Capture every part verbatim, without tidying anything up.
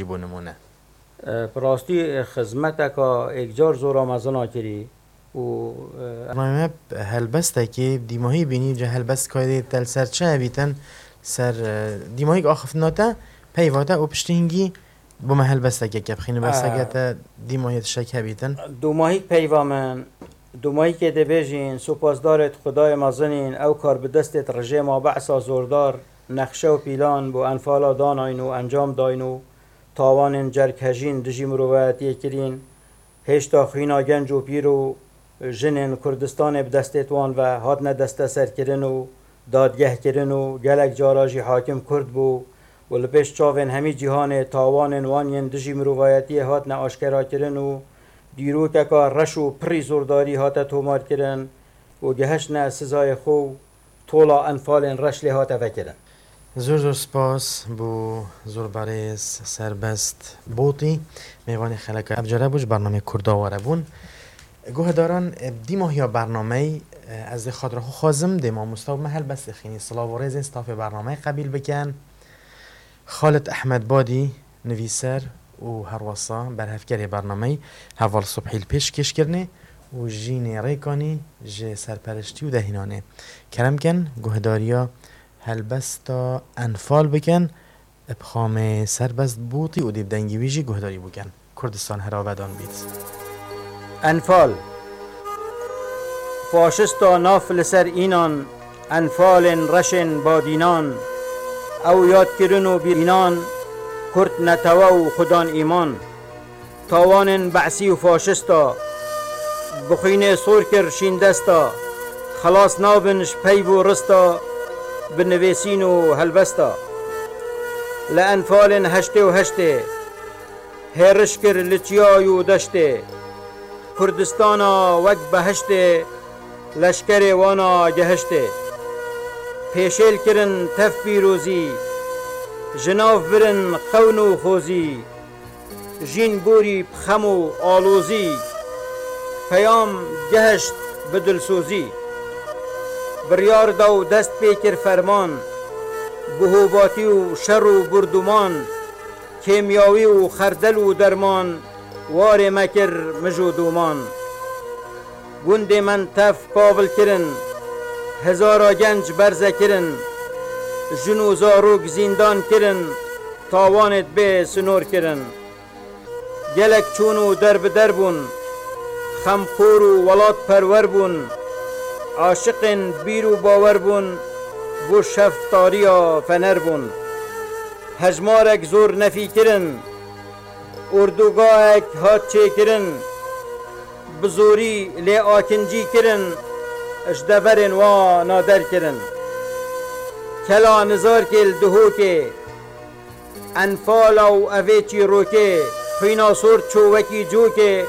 Bo nimûne. E, bi rastî, e, xizmeteka êkcar zora mezin a kirî û, e, Bername helbestekê dîmahî bînî, ca helbest kaydê te li ser çi hebîtin, ser, e, dîmahîk axiftina te, peyva te û piştî hingî bo me helbestekê ke bixînî, behseke E, te dîmahî tiştek hebîtin. Dûmahîk peyva min, dûmahîkê dibêjîn, sopasdarê Xwedayê mezinîn, ew kar bi destê rejêma Be'sa zordar, nexşe û pîlan bo enfala danayîn û encam dayîn û tawanên cerghejîn dijî mirovayetiyê kirîn. Hêşta xwîna genc û pîr û jinên Kurdistanê bi destê wan ve hatine desteserkirin û dadgehkirin û gelek cara jî hakim Kurd bû û li pêş çavên hemî cîhanê tawanên wan yên dijî mirovayetiyê hatine aşkerakirin û dîrokeka reş û pirî zordarî hate tomarkirin û gihiştine sizayê xwe û tola enfalên reş lê hate vekirin. Zor zor spas bo Zorbirêz Serbest Botî, mêvanê xeleka ev care bû, ji bernameyê Kurda were bûn. Guhdaran, e, dîmahiya bernameyê, e, ez dê xatira xwe xwazim, dê mamosta û me helbestê xînî. Silav û rêzên stafê bernameyê qebîl bikin. Xalid Ehmed Badî, nivîser û herwesa berhevkerê bernameyê, heval Subhî li pêşkêşkirinê û Jînê Rêkanî ji serperiştî û dehînanê. Kerem kin, guhdariya helbesta Enfal bikin, bi xamê Serbest Bûtî û dê bi dengê wî jî guhdarî bikin. Kurdistan her avedan bît. Enfal. Faşista naf li ser înan, enfalên reşên badînan, ew yadkirin û bînan, Kurd netewe û xudan îman. Tawanên Be'sî û faşista, bi xwînê sor kir şîndesta, xelas nabin ji peyv û rista, bi nivêsîn û helbesta. Li enfalên heştê û heştê, hêriş kir li çiyayê û deştê. Kurdistana wek behiştê, leşkerê wana gehiştê. Pêşêl kirin tev pîrozî, ji nav birin xewn û xozî. Jîn borî bi xem û alozî, peyam gehişt bi dilsozî. Biryar da û dest pê kir ferman, bi hovatî û şer û burdûman, kêmyawî û xerdel û derman, warê me kir mij û dûman. Gundê me tev pavil kirin, hezara genc berze kirin, jin û zarok zîndan kirin, tawanêt bê sinor kirin. Gelek çûn û derbider bûn, xemxor û welatperwer bûn, aşiqên bîr û bawer bûn, bo şev tariya fener bûn. Hejmarek zor nefî kirin, ordûgahek hat çêkirin, bi zorî lê akincî kirin, ji deverên wana derkirin. Kela Nizarkê li Duhokê, Enfala û evê çîrokê, xwîna sor çû wekî cokê,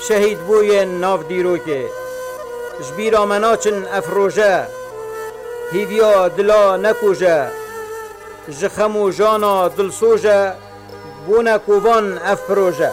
şehîd bûyên nav dîrokê. Ji bîra me naçin ev roje, hîviya dila nekuje, ji xem û jana dilsoje, bûne kovan ev proje.